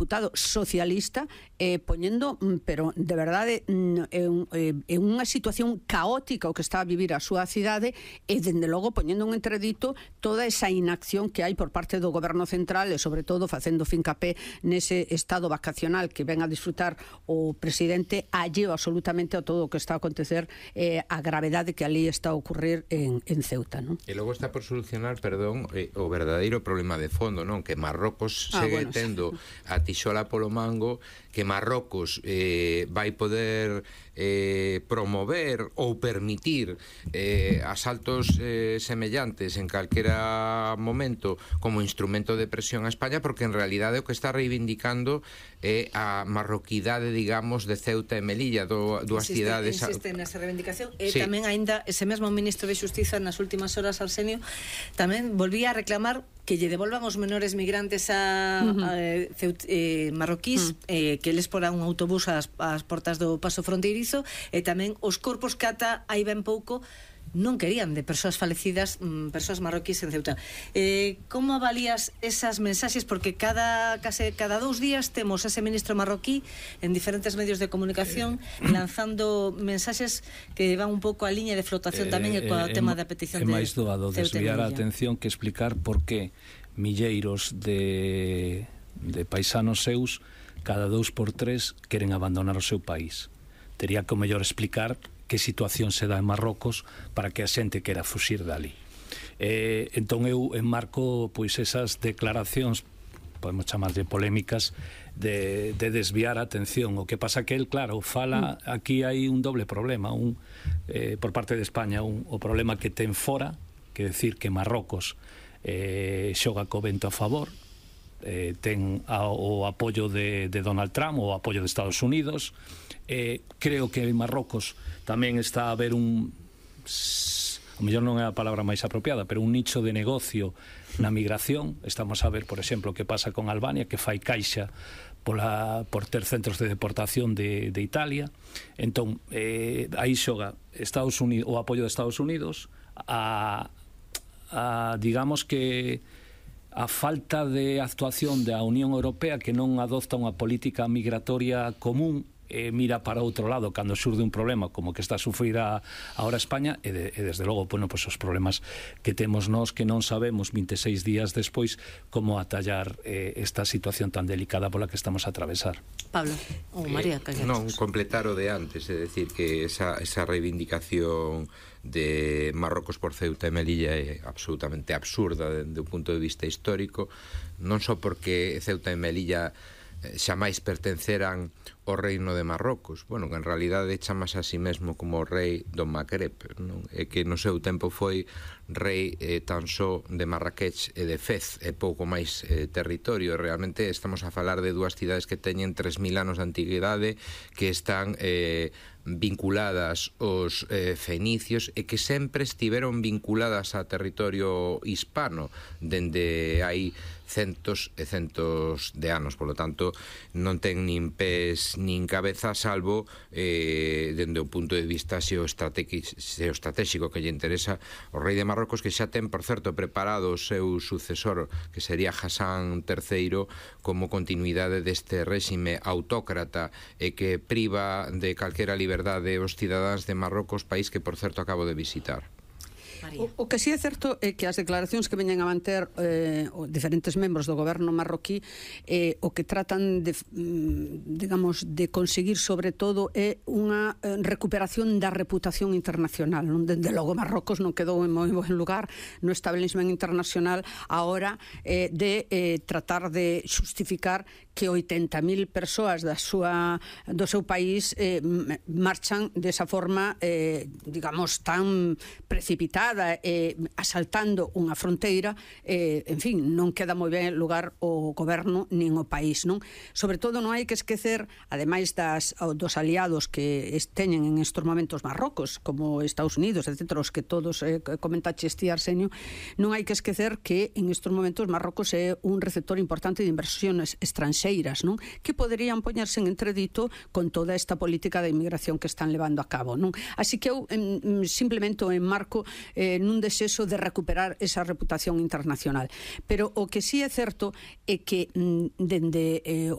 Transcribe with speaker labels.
Speaker 1: deputado socialista poñendo, pero de verdade é unha situación caótica o que está a vivir a súa cidade, e dende logo poñendo un entredito toda esa inacción que hai por parte do goberno central, e sobre todo facendo fincapé nese estado vacacional que ven a disfrutar o presidente, alleo absolutamente a todo o que está a acontecer, a gravedade que ali está a ocurrir en Ceuta, non?
Speaker 2: E logo está por solucionar, perdón, o verdadeiro problema de fondo, non? Que Marrocos segue tendo a tixola polo mango, que Marrocos vai poder promover ou permitir asaltos semellantes en calquera momento como instrumento de presión a España, porque en realidade o que está reivindicando é a marroquidade, digamos, de Ceuta e Melilla, dúas cidades.
Speaker 3: Insiste nesa reivindicación, e tamén aínda ese mesmo ministro de Xustiza nas últimas horas, Arsenio, tamén volvía a reclamar que lle devolvan os menores migrantes marroquís, que eles poran un autobús ás portas do paso fronteirizo, e tamén os corpos que ata hai ben pouco non querían de persoas falecidas, persoas marroquís en Ceuta. Como avalías esas mensaxes? Porque cada 2 días temos ese ministro marroquí en diferentes medios de comunicación lanzando mensaxes que van un pouco a liña de flotación tamén coa tema da petición de Ceuta.
Speaker 4: É máis doado desviar a atención que explicar por que milleiros de paisanos seus cada 2 por 3 queren abandonar o seu país. Tería que o mellor explicar que situación se dá en Marrocos para que a xente quera fuxir dali. Entón eu enmarco pois esas declaracións, podemos chamarlle polémicas, de desviar a atención. O que pasa que el, claro, fala, aquí hai un doble problema, por parte de España, o problema que ten fora, que decir que Marrocos xoga co vento a favor, ten o apoio de Donald Trump, o apoio de Estados Unidos. Creo que en Marrocos tamén está a haber o mellor non é a palabra máis apropiada, pero un nicho de negocio na migración. Estamos a ver, por exemplo, o que pasa con Albania, que fai caixa por ter centros de deportación de Italia. Entón, aí xoga o apoio de Estados Unidos a digamos que a falta de actuación da Unión Europea, que non adopta unha política migratoria común, mira para outro lado cando xurde un problema como que está a sufrir ahora España, e desde logo, bueno, pues os problemas que temos nós, que non sabemos 26 días despois como atallar esta situación tan delicada pola que estamos a atravesar.
Speaker 3: Pablo, ou María,
Speaker 2: non, completar o de antes, é dicir que esa reivindicación de Marrocos por Ceuta e Melilla é absolutamente absurda dende o punto de vista histórico, non só porque Ceuta e Melilla xamais pertenceran ao reino de Marrocos, bueno, que en realidade chamas a si mesmo como o rei do Magreb, non? E que no seu tempo foi rei tan só de Marrakech e de Fez, e pouco máis territorio. Realmente estamos a falar de dúas cidades que teñen 3000 anos de antigüidade, que están vinculadas aos fenicios e que sempre estiveron vinculadas a territorio hispano dende hai centos e centos de anos. Por lo tanto, non ten nin pés nin cabeza, salvo dende o punto de vista xeoestratégico que lle interesa o rei de Marrocos, que xa ten, por certo, preparado o seu sucesor, que sería Hassan III, como continuidade deste réxime autócrata e que priva de calquera liberdade os cidadáns de Marrocos, país que, por certo, acabo de visitar.
Speaker 1: O que sí é certo é que as declaracións que veñen a manter diferentes membros do goberno marroquí o que tratan de, digamos, de conseguir sobre todo é unha recuperación da reputación internacional, non? Dende logo Marrocos non quedou en moi buen lugar no establishment internacional a hora de tratar de xustificar que 80.000 persoas do seu país marchan desa forma, digamos, tan precipitada, asaltando unha fronteira. En fin, non queda moi ben lugar o goberno nin o país, non? Sobre todo non hai que esquecer, ademais dos aliados que teñen en estos momentos Marrocos, como Estados Unidos, etc., os que todos comentaches ti, Arsenio, non hai que esquecer que en estos momentos Marrocos é un receptor importante de inversiones estranxeiras, non? Que poderían poñerse en entredito con toda esta política de inmigración que están levando a cabo, non? Así que eu simplemente o enmarco nun desexo de recuperar esa reputación internacional. Pero o que sí é certo é que dende o